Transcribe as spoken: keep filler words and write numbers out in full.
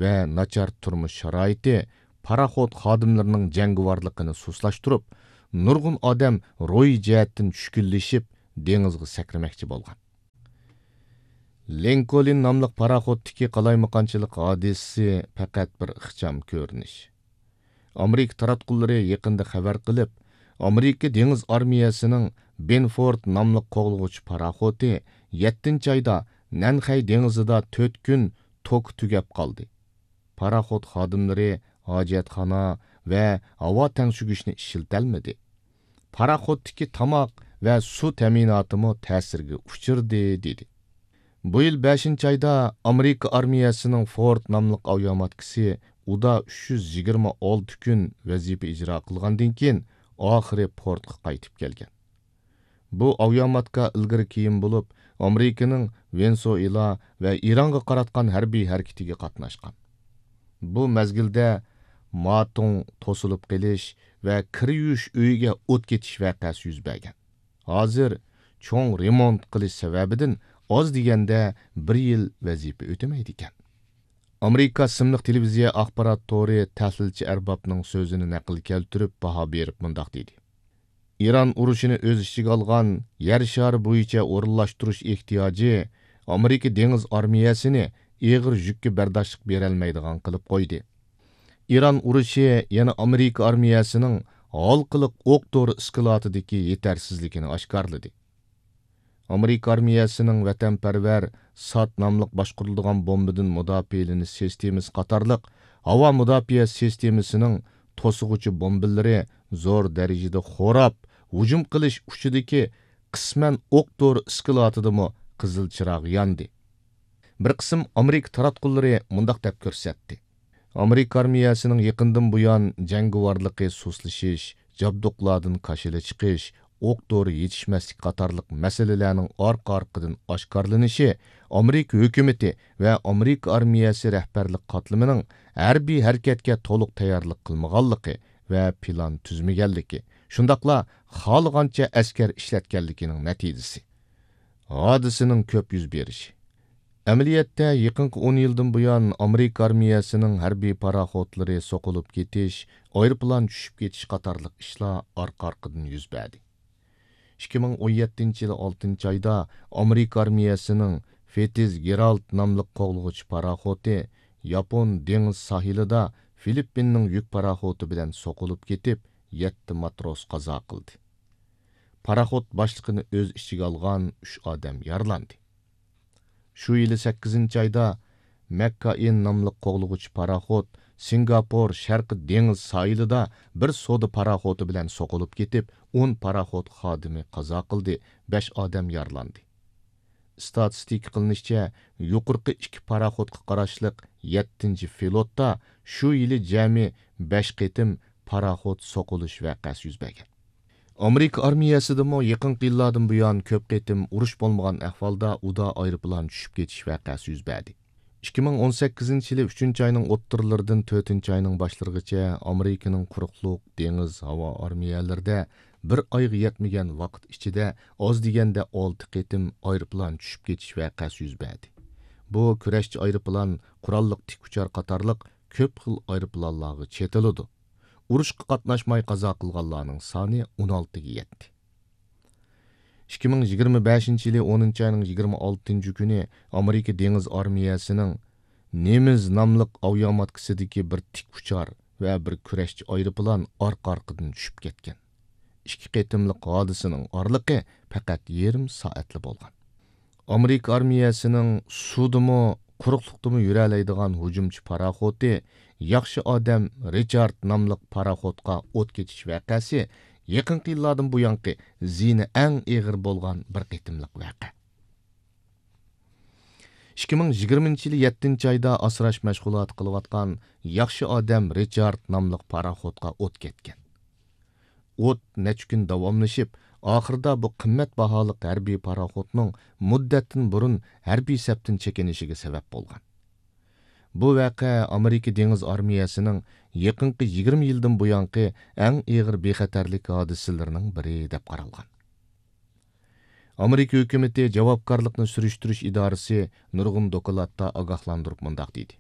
ۋە ناچار تۇرمۇش شارائىتى پاراخوت خادىملىرىنىڭ جەڭگىۋارلىقىنى سۇسلاشتۇرۇپ، نۇرغۇن ئادەم روھىي جەھەتتىن چۈشكۈنلىشىپ، دېڭىزغا سەكرىمەكچى بولغان. لىنكولن ناملىق پاراخوتتىكى قالايمىقانچىلىق ھادىسىسى پەقەت بىر ئىخچام كۆرۈنۈش. ئامېرىكا تاراتقۇلىرى يېقىندا خەۋەر قىلىپ، ئامېرىكا دېڭىز ئارمىيەسىنىڭ بېنفورد ناملىق قوغلىغۇچى پاراخوتى يەتتىنچى ئايدا نەنخەي دېڭىزىدا تۆت كۈن توكى تۈگەپ قالدى. پاراخوت خادىملىرى ھاجەتخانا ۋە ھاۋا تەڭشىگۈچنى ئىشلىتەلمىدى. پاراخوتتىكى تاماق ۋە سۇ تەمىناتىمۇ تەسىرگە ئۇچرىدى، دېدى. بۇ يىل بەشىنچى ئايدا ئامېرىكا ئارمىيەسىنىڭ فورد ناملىق ئاۋىئاماتكىسى ئۇدا ئۈچ يۈز يىگىرمە ئالتە كۈن ۋەزىپە ئىجرا قىلغاندىن كېيىن، ئاخىرى پورتقا قايتىپ كەلگەن. بۇ ئاۋىئاماتكا ئىلگىرى كېيىن بولۇپ، ئامېرىكىنىڭ ۋېنېسۇئېلا ۋە ئىرانغا قاراتقان ھەربىي ھەرىكىتىگە قاتناشقان. بۇ مەزگىلدە ماتوڭ توسۇلۇپ قېلىش ۋە كىر يۇيۇش ئۆيىگە ئوت كېتىش ۋەقەسى يۈز بەرگەن. ھازىر چوڭ رېمونت قىلىش سەۋەبىدىن ئاز دېگەندە بىر يىل ۋەزىپە ئۆتىمەيدىكەن. ئامېرىكا ئىسىملىق تېلېۋىزىيە ئاخبارات تورى تەھلىلچى ئەربابنىڭ سۆزىنى نەقىل كەلتۈرۈپ باھا بېرىپ مۇنداق دېدى: ئىران ئۇرۇشىنى ئۆز ئىچىگە ئالغان يەر شارى بويىچە ئورۇنلاشتۇرۇش ئېھتىياجى ئامېرىكا دېڭىز ئارمىيەسىنى ئېغىر يۈككە بەرداشلىق بېرەلمەيدىغان قىلىپ قويدى. ئىران ئۇرۇشى يەنە ئامېرىكا ئارمىيەسىنىڭ ھالقىلىق ئوق دورا ئىسكىلاتىدىكى يېتەرسىزلىكىنى ئاشكارىلىدى. ئامېرىكا ئارمىيەسىنىڭ ۋەتەنپەرۋەر سات ناملىق باشقۇرۇلىدىغان بومبىدىن مۇداپىئەلىنىش سىستېمىسى قاتارلىق ھاۋا مۇداپىئە سىستېمىسىنىڭ توسۇغۇچى بومبىلىرى زور دەرىجىدە خوراپ، ھۇجۇم قىلىش ئۇچىدىكى قىسمەن ئوق دورا ئىسكىلاتىدىمۇ قىزىل چىراغ ياندى. بىر قىسىم ئامېرىكا تاراتقۇلىرى مۇنداق دەپ كۆرسەتتى: ئامېرىكا ئارمىيەسىنىڭ يېقىندىن بۇيان جەڭگىۋارلىقى سۇسلىشىش، جابدۇقلاردىن كاشىلا چىقىش، ئوق دورا يېتىشمەسلىك قاتارلىق مەسىلىلەرنىڭ ئارقا-ئارقىدىن ئاشكارىلىنىشى ئامېرىكا ھۆكۈمىتى ۋە ئامېرىكا ئارمىيەسى رەھبەرلىك قاتلىمىنىڭ ھەربىي ھەرىكەتكە تولۇق تەييارلىق قىلمىغانلىقى ۋە پىلان تۈزمىگەنلىكى، شۇنداقلا خالىغانچە ئەسكەر ئىشلەتكەنلىكىنىڭ نەتىجىسى. ھادىسىنىڭ كۆپ يۈز بېرىشى. ئەمەلىيەتتە، يېقىنقى ئون يىلدىن بۇيان ئامېرىكا ئارمىيەسىنىڭ ھەربىي پاراخوتلىرى سوقۇلۇپ كېتىش، ئايروپىلان چۈشۈپ كېتىش قاتارلىق ئىشلار ئارقا-ئارقىدىن يۈز بەردى. ئىككى مىڭ ئون يەتتىنچى يىلى ئالتىنچى ئايدا ئامېرىكا ئارمىيەسىنىڭ فىتزگېرالد ناملىق قوغلىغۇچى پاراخوتى ياپون دېڭىز ساھىلىدا فىلىپپىننىڭ يۈك پاراخوتى بىلەن سوقۇلۇپ كېتىپ، يەتتە ماتروس قازا قىلدى. پاراخوت باشلىقىنى ئۆز ئىچىگە ئالغان ئۈچ ئادەم يارىلاندى. شۇ يىلى سەككىزىنچى ئايدا مەككائىن ناملىق قوغلىغۇچى پاراخوت سىنگاپور شەرقىي دېڭىز ساھىلىدا بىر سودا پاراخوتى بىلەن سوقۇلۇپ كېتىپ، ئون پاراخوت خادىمى قازا قىلدى، بەش ئادەم يارىلاندى. ئىستاتىستىكا قىلىنىشىچە، يۇقىرىقى ئىككى پاراخوتقا قاراشلىق يەتتىنچى فلوتتا شۇ يىلى جەمئىي بەش قېتىم پاراخوت سوقۇلۇش ۋەقەسى يۈز بەرگەن. ئامېرىكا ئارمىيەسىدىمۇ يېقىنقى يىللاردىن بۇيان كۆپ قېتىم ئۇرۇش بولمىغان ئەھۋالدا ئۇدا ئايروپىلان چۈشۈپ كېتىش ۋەقەسى يۈز بەردى. ئىككى مىڭ ئون سەككىزىنچى يىلى ئۈچىنچى ئاينىڭ ئوتتۇرىلىرىدىن تۆتىنچى ئاينىڭ باشلىرىغىچە ئامېرىكىنىڭ قۇرۇقلۇق، دېڭىز، ھاۋا ئارمىيەلىرىدە بىر ئايغا يەتمىگەن ۋاقىت ئىچىدە ئاز دېگەندە ئالتە قېتىم ئايروپىلان چۈشۈپ كېتىش ۋەقەسى يۈز بەردى. بۇ كۈرەشچى ئايروپىلان، قوراللىق تىك ئۇچار قاتارلىق كۆپ خىل ئايروپىلانلارغا چېتىلىدۇ. ئۇرۇشقا قاتناشماي قازا قىلغانلارنىڭ سانى ئون ئالتىگە يەتتى. ئىككى مىڭ يىگىرمە بەشىنچى يىلى ئونىنچى ئاينىڭ يىگىرمە ئالتىنچى كۈنى ئامېرىكا دېڭىز ئارمىيەسىنىڭ نېمىز ناملىق ئاۋىئاماتكىسىدىكى بىر تىك ئۇچار ۋە بىر كۈرەشچى ئايروپىلان ئارقا-ئارقىدىن چۈشۈپ كەتكەن. ئىككى قېتىملىق ھادىسىنىڭ ئارىلىقى پەقەت يېرىم سائەتلا بولغان. ئامېرىكا ئارمىيەسىنىڭ سۇدىمۇ، قۇرۇقلۇقتىمۇ يۈرەلەيدىغان ھۇجۇمچى پاراخوتى ياخشى ئادەم رىچارد ناملىق پاراخوتقا ئوت كېتىش ۋەقەسى يېقىنقى يىللاردىن بۇيانقى زىيىنى ئەڭ ئېغىر بولغان بىر قېتىملىق ۋەقە. ئىككى مىڭ يىگىرمىنچى يىلى يەتتىنچى ئايدا ئاسراش مەشغۇلاتى قىلىۋاتقان ياخشى ئادەم رىچارد ناملىق پاراخوتقا ئوت كەتكەن. ئوت نەچچە كۈن داۋاملىشىپ، ئاخىرىدا بۇ قىممەت باھالىق ھەربىي پاراخوتنىڭ مۇددەتتىن بۇرۇن ھەربىي سەپتىن چېكىنىشىگە سەۋەب بولغان. بۇ ۋەقە ئامېرىكا دېڭىز ئارمىيەسىنىڭ يېقىنقى يىگىرمە يىلدىن بۇيانقى ئەڭ ئېغىر بىخەتەرلىك ھادىسىلىرىنىڭ بىرى دەپ قارالغان. ئامېرىكا ھۆكۈمىتى جاۋابكارلىقنى سۈرۈشتۈرۈش ئىدارىسى نۇرغۇن دوكلاتتا ئاگاھلاندۇرۇپ مۇنداق دېدى: